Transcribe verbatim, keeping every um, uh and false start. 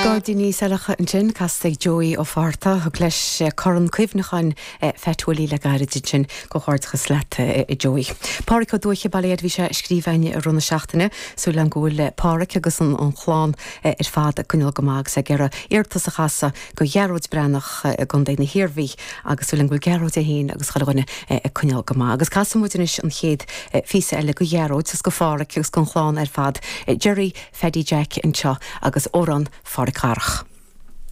Gairdíní Saileacha ansin casta ag Joey Ó Fátharta thug leis corn cuimhneacháin Phat Willie le gairid ansin comhghairdeachas leat Joey. Pádraic Ó Dúiche Baile bhí sé scríofa i rith na seachtaine súil agam go bhfuil Pádraic agus an an chlann ar fad ag coinneáil go maith agus ag iarraidh iarratas a chasadh go Ghearóid Breathnach i gContae na hIarmhí agus súil agam go bhfuil Gearóid é féin agus chuile dhuine ag coinneáil go maith. Agus casfaidh muid anois an chéad phíosa eile go Ghearóid agus go Phádraic agus don chlann ar fad. Jerry Phaddy Jack anseo agus amhrán Phádraic Dharach.